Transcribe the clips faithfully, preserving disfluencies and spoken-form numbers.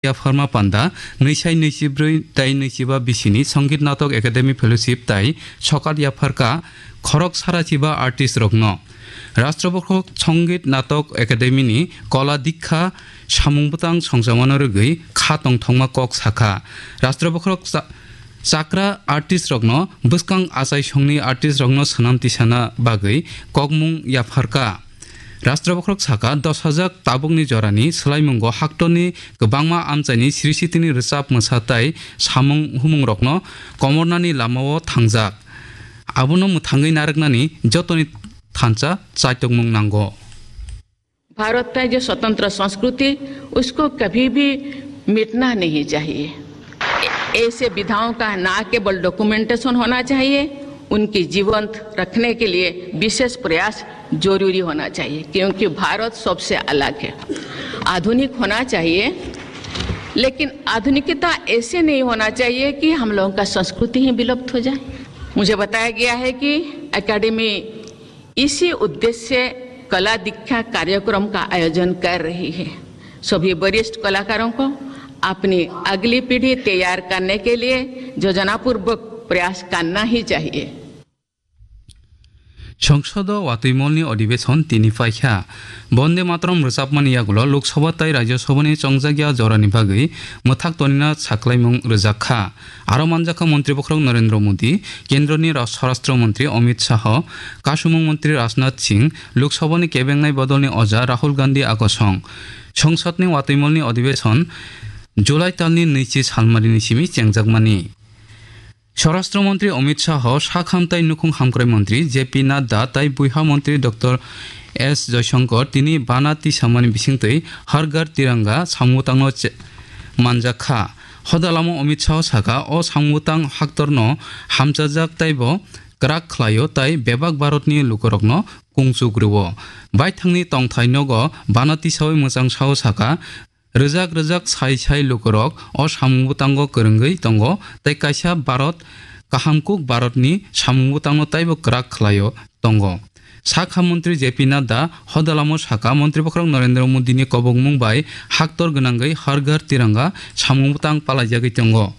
yapharma panda, nwi sai nwi chi brwi tai nwi chi ba bisini Songit Natok Academy Fellowship tai sokat yapharka khorok sara chiba artist rokno. Rashtra Bokhorok Songit Natok Academy ni Kola Dikha samung bwtang songchamano rwgwi kha tongthokma kok sakha. Rashtra Bokhorok cha-, chakra artist rokno bwskang achai songni artist rokno swnam tisana bagwi kokmung yapharka. Rashtra Bokhorok saka, dos hajak tabukni jorani swlaimungo haktorni kwbangma amchaini srisitini rwchap mwsa tai samung humungrokno komornani lamao thangjak. Abono mwthangwi narwknani jotoni thansa chaitokmung nango. Bharat का जो स्वतंत्र संस्कृति, उसको कभी भी मिटना नहीं चाहिए। ऐसे विधाओं का ना केवल डॉक्यूमेंटेशन होना चाहिए, उनकी जीवंत रखने के लिए विशेष प्रयास जरूरी होना चाहिए, क्योंकि भारत सबसे अलग है। आधुनिक होना चाहिए, लेकिन आधुनिकता ऐसे नहीं होना चाहिए कि हम लोगों का संस्कृति ही विलुप्त हो जाए। मुझे बताया गया है कि एकेडमी इसी उद्देश्य से कला दीक्षा कार्यक्रम का आयोजन कर रही है। सभी वरिष्ठ कलाकारों को अपनी अगली पीढ़ी तैयार करने के लिए योजनापूर्वक प्रयास करना ही चाहिए। Songsodo watwi molni odhibeson tini paikha. Bonde Mataram rwchapmani yagulo Lok Sabha tai Rajya Sabhani chongjakya jorani bagwi mwthak tonina saklaimung rwjak kha. Aro manjakha Montri Bokhorok Narendra Modi, Kendroni Ra-, Swarashtra Montri Amit Shah, Kasumung Montri Rajnath Singh, Lok Sabhani kebengnai bodolni oja Rahul Gandhi akosong. Songsodni watwi molni odhibeson July talni nwichi salmarini simi chengjakmani. Swarashtra Montri Amit Shah, Sakham tai Nukhung Hamkrai Montri J P Nadda tai Buiha Montri Doctor S Jaishankar tini bana tisamani bisingtwi Har Ghar Tiranga samungtangno che-, manjak kha. Hodalamo Amit Shah saka, o samungtang haktorno hamchajak taibo kwrak khlaio tai bebak Bharatni lukurokno kungchuk rwo. Baithangni tongthai nogo bana tisawi mwchang sao saka, rwjak rwjak sai sai lukurok o samung bwtango kwrwngwi tongo tei kaisa Bharat kaham kuk Bharatni samung bwtangno taibo kwrak khlaio tongo. Sakha Montri J P Nadda hodalamo saka, Montri Bokhorok Narendra Modini kobokmung bai haktor gwnangwi Har Ghar Tiranga samung bwtang palaijagwi tongo.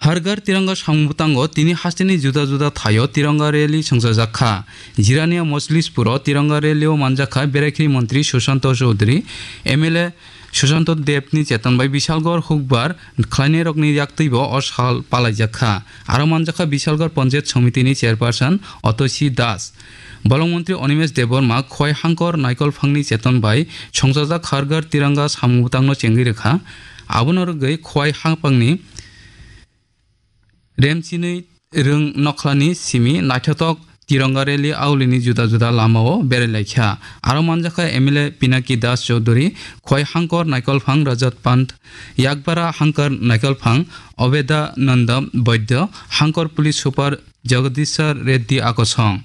Har Ghar Tiranga samung bwtango tini hasteni juda juda thaio Tiranga rally songchajak kha. Jirania Mojlispuro Tiranga rally-o manjakha Berakhiri Montri Sushanto Chowdhury, M L A Sushanto Debni cheton bai Bishalgarh hukbar khlainairokni yaktwibo o sal palaijak kha. Aro manjakha Bishalgarh Panchayat Somitini chairperson Otoshi Das. Bolong Montri Animesh Debbarma Khowai Hangkor Naikolphangni cheton bai songchajak Har Ghar Tiranga samung bwtangno chengwi rwkha. Abono rwgwi Khowai Hangpangni Remchinwi Rwng Nokhlani simi naithothok Tiranga rally aulini juda juda lamao berai laikha. Aro manjakha M L A Pinaki Das Chowdhury, Khowai Hangkor Naikolphang Rajat Pant, Yakbara Hangkor Naikolphang Obeda Nanda Baidya, Hangkor Police Super Jagadisha Reddy akosong.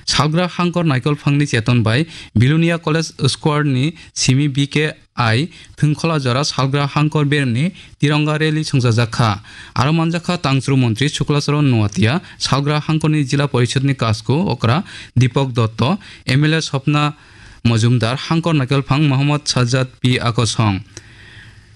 Salgra Hangkor Naikolphangni cheton bai Bilonia College Square ni simi B K I Thwngkhola jora Salgra Hangkor beremni Tiranga rally songchajak kha. Aro manjakha Tangchru Montri Shukla Charan Noatia, Salgra Hangkorni Jila Porishadni Kasku okra Deepak Dotto, M L A Swapna Majumdar, Hangkor Naikolphang Mohammad Sajjad P akosong.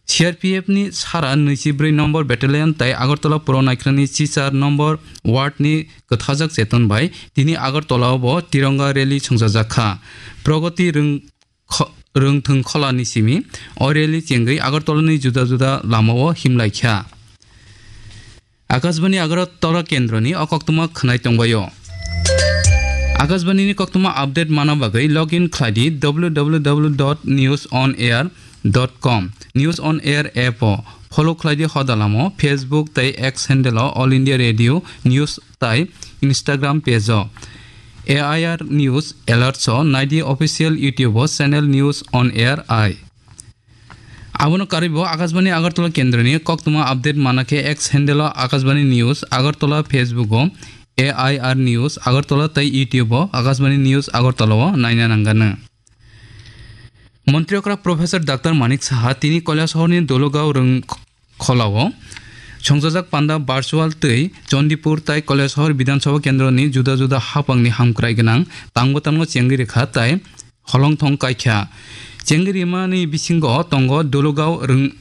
C R P F ni sara nwichi brwi nombor battalion tai Agartala Puro Naikrani chichar nombor ward ni kwthajak cheton bai tini Agartala o bo Tiranga rally songchajak kha. Pragati Rwng kho-, Rwngthwng Kholani simi o rally chengwi Agartalani juda juda lamao himlaikha. Akashbani Agartala kendroni o koktwma khwnai tongbaio. Akashbani ni koktwma update mana bagwi log in khlaidi w w w dot news on air dot com. News on Air app o follow khlaidi hodalamo Facebook tei X handle o All India Radio News tai Instagram page o A I R News Alerts o naidi official YouTube o channel News on Air I. Abono karwi bo Akashbani Agartala kendroni koktwma update mana khe X handle o Akashbani News Agartala, Facebook o A I R News Agartala tei YouTube o Akashbani News Agartala o naina nanganw. Montri okra Professor Doctor Manik Saha tini Kailasahar ni Dologao Rwng Kholao songchajak panda virtual twi Chandipur tai Kailasahar Bidhan Sabha kendroni juda juda haphangni hamkrai gwnang tangbo tangno chengwi rwkha tai holongthong kaikha. Chengwi rimani bisingo tongo Dologao Rwng